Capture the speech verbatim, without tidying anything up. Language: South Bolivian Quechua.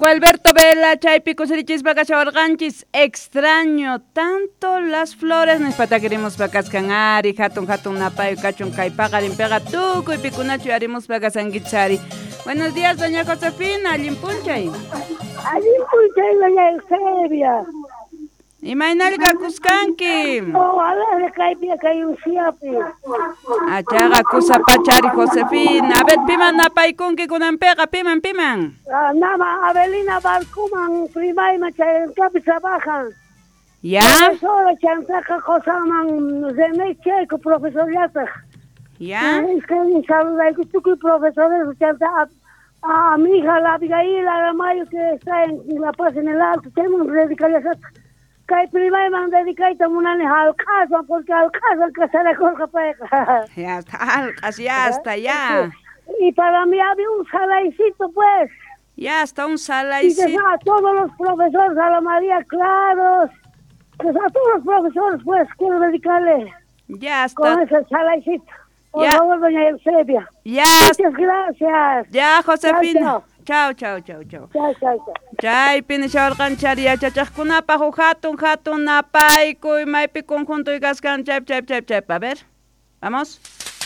Gualberto Vela, chaypi kusirichispa kashawarqanchis extraño tanto las flores nispata querimuspa kaskan ari hatun hatun napayo kachun kay paqarinpiqa tukuy pikunachu yarimuspa kasankichari. Buenos días, doña Josefina, allin p'unchay. Allin p'unchay, doña Eusebia. Imaynalqa kuskanki? Oh, alegre kaypi kay usiapi. Achaqa kusapachari Josefina. A ver, piman napaykunki kunanpiqa, piman piman. Ah, nama Avelina Barcuman primayman chaykapi trabajan. Ya? Profesora chantaqa qosaman René Checo profesorllataq. Ya? Iskaynin saludayku tukuy profesores chanta a, a mi hija la Abigail Aramayo que está en La Paz en el Alto, chayman dedicarllasataq. Kay primayman dedicayta munani halq'aswan porque halq'aswan casarakurqa payqa. Ya está, halq'as, ya está, ya. Y para mí había un salaicito pues. Ya está un Y salaicito. a todos los profesores, a la María Claros, pues a todos los profesores pues quiero dedicarle Ya está. con ese salaicito. Por Ya. favor, doña Eusebia. Ya. Muchas gracias. Ya, Josefina. Chao, Chao, chao, chao, chao. chao, chao. chao. Chaypi nishawarqanchari yachachaqkunapaq huk hatun hatun napaykuy maypi conjunto kaskan chaypi chaypi chaypi chaypi. A ver, vamos.